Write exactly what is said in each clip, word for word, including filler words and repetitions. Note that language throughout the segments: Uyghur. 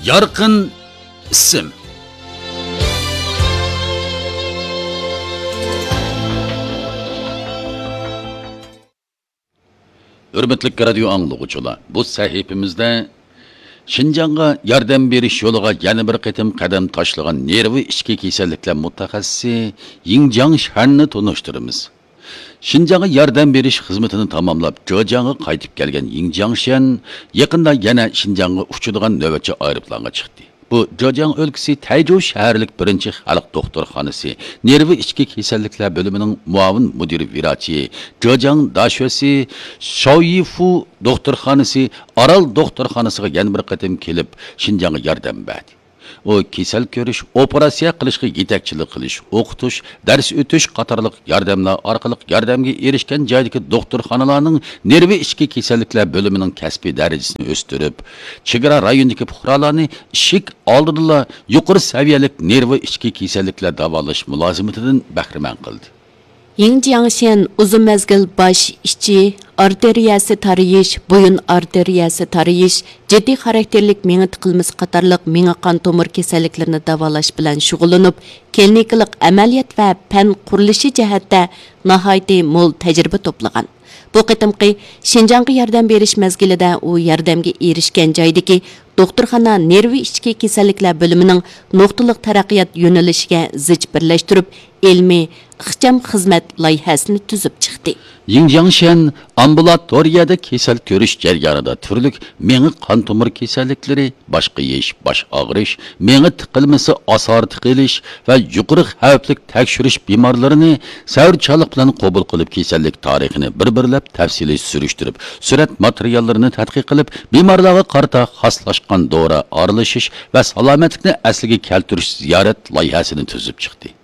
يارقىن ئىسىم. ھۆرمەتلىك رادىيو ئاڭلىغۇچىلار، بۇ سەھىپىمىزدە شىنجاڭغا ياردەم بېرىش يولىغا يەنە بىر قېتىم قەدەم تاشلىغان نېرۋا ئىچكى كېسەللىكلەر مۇتەخەسسىسى يىڭ جياڭشەننى تونۇشتۇرىمىز. شىنجاڭغا ياردەم بېرىش خىزمىتىنى تاماملاپ، جېجياڭغا قايتىپ كەلگەن يىڭ جياڭشەن يېقىندا يەنە شىنجاڭغا ئۇچىدىغان نۆۋەتچى ئايروپىلانغا چىقتى. بۇ جېجياڭ ئۆلكىسى تەيجۇ شەھەرلىك بىرىنچى خەلق دوختۇرخانىسى نېرۋا ئىچكى كېسەللىكلەر بۆلۈمىنىڭ مۇئاۋىن مۇدىر ۋىراچى، جېجياڭ داشۆسى شاۋيىفۇ دوختۇرخانىسى ئارال دوختۇرخانىسىغا يەنە بىر قېتىم كېلىپ، شىنجاڭغا ياردەم بەردى. ئۇ كېسەل كۆرۈش، ئوپېراتسىيە قىلىشقا يېتەكچىلىك قىلىش، ئوقۇتۇش، دەرس ئۆتۈش قاتارلىق ياردەملەر ئارقىلىق ياردەمگە ئېرىشكەن جايدىكى دوختۇرخانىلارنىڭ نېرۋا ئىچكى كېسەللىكلەر بۆلۈمىنىڭ كەسپىي دەرىجىسىنى ئۆستۈرۈپ، چېگرا رايونىدىكى پۇقرالارنى ئىشىك ئالدىدىلا يۇقىرى سەۋىيەلىك نېرۋا ئىچكى كېسەللىكلەر داۋالاش مۇلازىمىتىدىن بەھرىمەن قىلدى. يىڭ جياڭشيەن ئۇزۇن مەزگىل باش، ئىچى، ئارتېرىيەسى تارىيىش، بويۇن ئارتېرىيەسى تارىيىش، جىددىي خاراكتېرلىك مېڭە تىقىلمىسى قاتارلىق مېڭە قان تومۇر كېسەللىكلىرىنى داۋالاش بىلەن شۇغۇللىنىپ، كلىنىكىلىق ئەمەلىيەت ۋە پەن قۇرۇلۇشى جەھەتتە ناھايىتى مول تەجرىبە توپلىغان. بۇ قېتىمقى شىنجاڭغا ياردەم بېرىش مەزگىلىدە ئۇ ياردەمگە ئېرىشكەن جايدىكى دوختۇرخانا نېرۋا ئىچكى كېسەللىكلەر بۆلۈمىنىڭ نۇقتىلىق تەرەققىيات يۆنىلىشىگە زىچ بىرلەشتۈرۈپ، ئىلمىي ئىخچام خىزمەت لايىھەسىنى تۈزۈپ چىقتى. يىڭ جياڭشيەن ئامبۇلاتورىيەدە كېسەل كۆرۈش جەريانىدا تۈرلۈك مېڭە قان تومۇر كېسەللىكلىرى، باش قېيىش، باش ئاغرىش، مېڭە تىقىلمىسى، ئاسارە تىقىلىش ۋە يۇقىرى خەۋپلىك تەكشۈرۈش بىمارلىرىنى سەۋرچانلىق بىلەن قوبۇل قىلىپ، كېسەللىك تارىخىنى بىر-بىرلەپ تەپسىلىي سۈرۈشتۈرۈپ، سۈرەت ماتېرىياللىرىنى تەتقىق قىلىپ، بىمارلارغا قارىتا خاسلاشقان دورا ئارىلىشىش ۋە سالامەتلىكنى ئەسلىگە كەلتۈرۈش زىيارەت لايىھەسىنى تۈزۈپ چىقتى.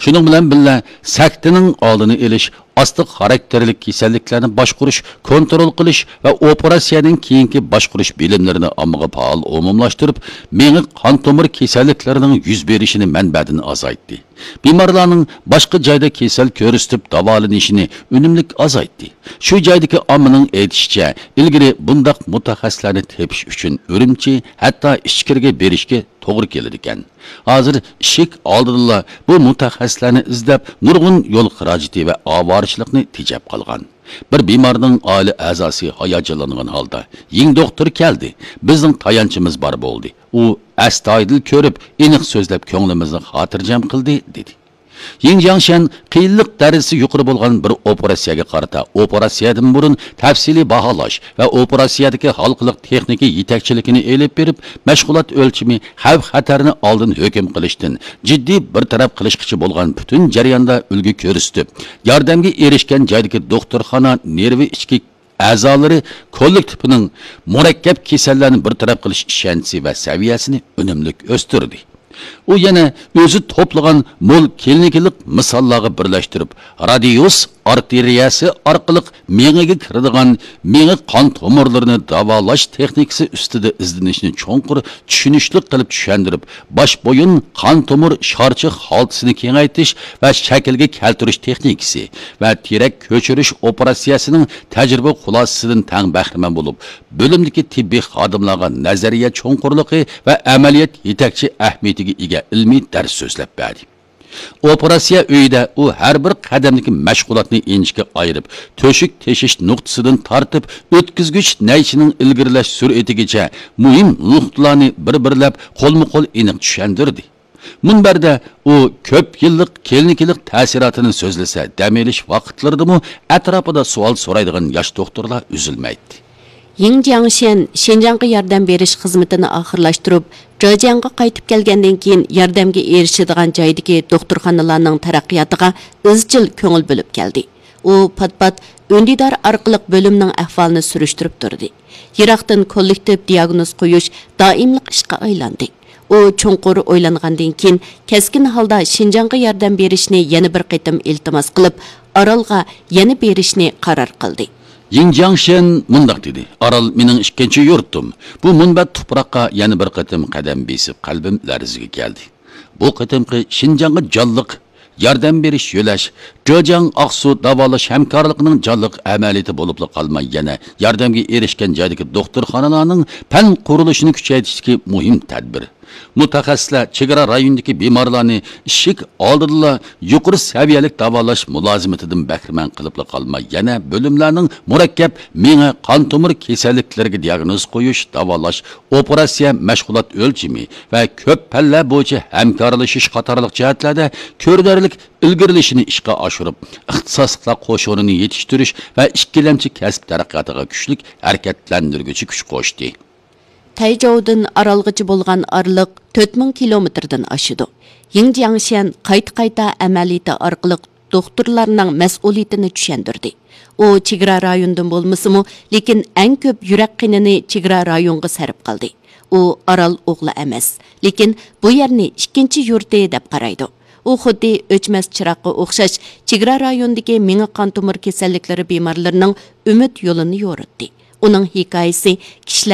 شۇنىڭ بىلەن بىللە، سەكتىنىڭ ئالدىنى ئېلىش، ئاستا خاراكتېرلىك كېسەللىكلەرنى باشقۇرۇش، كونترول قىلىش ۋە ئوپېراتسىيەدىن كېيىنكى باشقۇرۇش بىلىملىرىنى ئاممىغا پائال ئومۇملاشتۇرۇپ، مېڭە قان تومۇر كېسەللىكلىرىنىڭ يۈز بېرىشىنى مەنبەدىن ئازايتتى. بىمارلارنىڭ باشقا جايدا كېسەل كۆرسىتىپ داۋالىنىشىنى ئۈنۈملۈك ئازايتتى. شۇ جايدىكى ئاممىنىڭ ئېيتىشىچە، ئىلگىرى بۇنداق مۇتەخەسسىسلەرنى تېپىش ئۈچۈن ئۈرۈمچى، ھەتتا ئىچكىرىگە بېرىشكە توغرا كېلىدىكەن. ھازىر ئىشىك ئالدىدىلا بۇ مۇتەخەسسىسلەرنى ئىزدەپ، نۇرغۇن يول خىراجىتى ۋە ئاۋارىچىلىقنى تېجەپ قالغان. بىر بىمارنىڭ ئائىلە ئەزاسى ھاياجانلانغان ھالدا، يىڭ دوختۇر كەلدى، بىزنىڭ تايانچىمىز بار بولدى. ئۇ ئەستايىدىل كۆرۈپ، ئېنىق سۆزلەپ، كۆڭلىمىزنى خاتىرجەم قىلدى، دېدى. يىڭ جياڭشيەن قىيىنلىق دەرىجىسى يۇقىرى بولغان بىر ئوپېراتسىيەگە قارىتا ئوپېراتسىيەدىن بۇرۇن تەپسىلىي باھالاش ۋە ئوپېراتسىيەدىكى ھالقىلىق تېخنىكا يېتەكچىلىكىنى ئېلىپ بېرىپ، مەشغۇلات ئۆلچىمى، خەۋپ-خەتەرنى ئالدىن ھۆكۈم قىلىشتىن جىددىي بىر تەرەپ قىلىشقىچە بولغان پۈتۈن جەرياندا ئۈلگە كۆرسىتىپ، ياردەمگە ئېرىشكەن جايدىكى دوختۇرخانا نېرۋا ئىچكى ئەزالىرى كوللېكتىپىنىڭ مۇرەككەپ كېسەللەرنى بىر تەرەپ قىلىش ئىشەنچىسى ۋە سەۋىيەسىنى ئۈنۈملۈك ئۆستۈردى. ئۇ يەنە ئۆزى توپلىغان مول كلىنىكىلىق مىساللارغا بىرلەشتۈرۈپ، رادىيۇس ئارتېرىيەسى ئارقىلىق مېڭىگە كىرىدىغان مېڭە قان تومۇرلىرىنى داۋالاش تېخنىكىسى ئۈستىدە ئىزدىنىشنى چوڭقۇر چۈشىنىشلىك قىلىپ چۈشەندۈرۈپ، باش بويۇن قان تومۇر شارچە خالتىسىنى كېڭەيتىش ۋە شەكىلگە كەلتۈرۈش تېخنىكىسى ۋە تېرەك كۆچۈرۈش ئوپېراتسىيەسىنىڭ تەجرىبە خۇلاسىسىدىن تەڭ بەھرىمەن بولۇپ، بۆلۈمدىكى تېببىي خادىملارغا نەزەرىيە چوڭقۇرلۇقى ۋە ئەمەلىيەت يېتەكچى ئەھمىيىتىگە ئىگە ئىلمىي دەرس سۆزلەپ بەردى. ئوپېراتسىيە ئۆيىدە ئۇ ھەر بىر قەدەمدىكى مەشغۇلاتنى ئىنچىكە ئايرىپ، تۆشۈك تېشىش نۇقتىسىدىن تارتىپ، ئۆتكۈزگۈچ نەيچىنىڭ ئىلگىرىلەش سۈرئىتىگىچە مۇھىم نۇقتىلارنى بىر-بىرلەپ قولمۇ قول ئېنىق چۈشەندۈردى. مۇنبەردە ئۇ كۆپ يىللىق كلىنىكىلىق تەسىراتىنى سۆزلىسە، دەم ئېلىش ۋاقىتلىرىدىمۇ ئەتراپىدا سوئال سورايدىغان ياش دوختۇرلار ئۈزۈلمەيتتى. يىڭ جياڭشيەن شىنجاڭغا ياردەم بېرىش خىزمىتىنى ئاخىرلاشتۇرۇپ، جېجياڭغا قايتىپ كەلگەندىن كېيىن، ياردەمگە ئېرىشىدىغان جايدىكى دوختۇرخانىلارنىڭ تەرەققىياتىغا ئىزچىل كۆڭۈل بۆلۈپ كەلدى. ئۇ پات-پات ئۈندىدار ئارقىلىق بۆلۈمنىڭ ئەھۋالىنى سۈرۈشتۈرۈپ تۇردى. يىراقتىن كوللېكتىپ دىياگنوز قويۇش دائىملىق ئىشقا ئايلاندى. ئۇ چوڭقۇر ئويلانغاندىن كېيىن، كەسكىن ھالدا شىنجاڭغا ياردەم بېرىشنى يەنە بىر قېتىم ئىلتىماس قىلىپ، ئارالغا يەنە بېرىشنى قارار قىلدى. يىڭ جياڭشيەن مۇنداق دېدى: «ئارال مېنىڭ ئىككىنچى يۇرتۇم. بۇ مۇنبەت تۇپراققا يەنە بىر قېتىم قەدەم بېسىپ، قەلبىم لەرزىگە كەلدى. بۇ قېتىمقى شىنجاڭغا جانلىق ياردەم بېرىش يۆلەش، جېجياڭ ئاقسۇ داۋالاش ھەمكارلىقىنىڭ جانلىق ئەمەلىيىتى بولۇپلا قالماي، يەنە ياردەمگە ئېرىشكەن جايدىكى دوختۇرخانىلارنىڭ پەن قۇرۇلۇشىنى كۈچەيتىشتىكى مۇھىم تەدبىر. مۇتەخەسسىسلەر چېگرا رايونىدىكى بىمارلارنى ئىشىك ئالدىدىلا يۇقىرى سەۋىيەلىك داۋالاش مۇلازىمىتىدىن بەھرىمەن قىلىپلا قالماي، يەنە بۆلۈملەرنىڭ مۇرەككەپ مېڭە، قان تومۇر كېسەللىكلىرىگە دىياگنوز قويۇش، داۋالاش، ئوپېراتسىيە، مەشغۇلات ئۆلچىمى ۋە كۆپ پەنلەر بويىچە ھەمكارلىشىش قاتارلىق جەھەتلەردە كۆرۈنەرلىك ئىلگىرىلىشىنى ئىشقا ئاشۇرۇپ، ئىختىساسلىقلار قوشۇنىنى يېتىشتۈرۈش ۋە ئىككىلەمچى كەسىپ تەرەققىياتىغا كۈچلۈك ھەرىكەتلەندۈرگۈچى كۈچ قوشتى. تەيجاۋدىن ئارالغىچە بولغان ئارىلىق تۆت مىڭ كىلومېتىردىن ئاشىدۇ. يىڭ جياڭشيەن قايتا-قايتا ئەمەلىيىتى ئارقىلىق دوختۇرلارنىڭ مەسئۇلىيىتىنى چۈشەندۈردى. ئۇ چېگرا رايوندىن بولمىسىمۇ، لېكىن ئەڭ كۆپ يۈرەك قېنىنى چېگرا رايونغا سەرپ قىلدى. ئۇ ئارال ئوغلى ئەمەس، لېكىن بۇ يەرنى ئىككىنچى يۇرتى دەپ قارايدۇ. ئۇ خۇددى ئۆچمەس چىراغقا ئوخشاش چېگرا رايونىدىكى مېڭە قان تومۇر كېسەللىكلىرى بىمارلىرىنىڭ ئۈمىد يولىنى يورۇتتى. ئۇنىڭ ھېكايىسى كىشىلەر